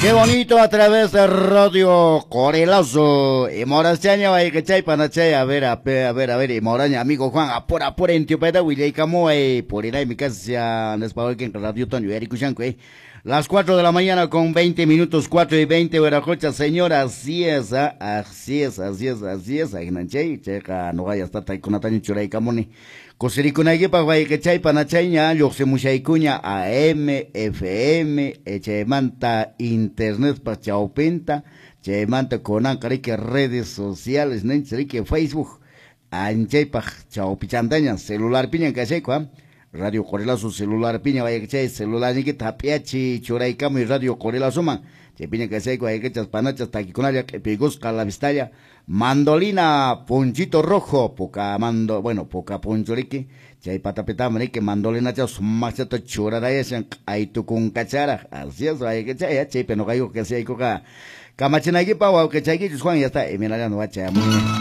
Qué bonito a través de Radio Corelazo. Y Morachaña, chay panachay, a ver, a ver, a ver, a ver, y Moraña, amigo Juan, apura, apura, en Tiopeta, Willaycamo, por ir ahí mi casa, en Radio Toño, Eric Las 4 de la mañana con 20 minutos, 4:20, Veracocha, señora, así es, así es, así es, así es, aguinanchay, checa, no vaya hasta taikunataño churaykamuni. Kusirikunaykipa wayqichay panachayña lluqsimushaykuña AM, FM, chaymanta internetpa chawpinta, chaymanta kunanqa riki redes sociales ninchik riki Facebook, anchaypaq chawpichantaña celularpiña kashayku, Radio Corelazo celularpiña wayqichay celularniykita hap'iachi churaykamuy Radio Corelazoman, chaypiña kashayku wayqichas panachas takikunalla q'ipiykusqa la vistalla. Mandolina Ponchito Rojo, poca mando, bueno, poca poncho riki, chay patapitama riki, mandolina cha sumaqchata churarayashan q'aytukunkacharaq, así es, wayqichay, chaypi nuqaykuqa kasiyaykuqa kamachinaykipa wawqichaykichus Juan, ya está, eminallano wachayamuña.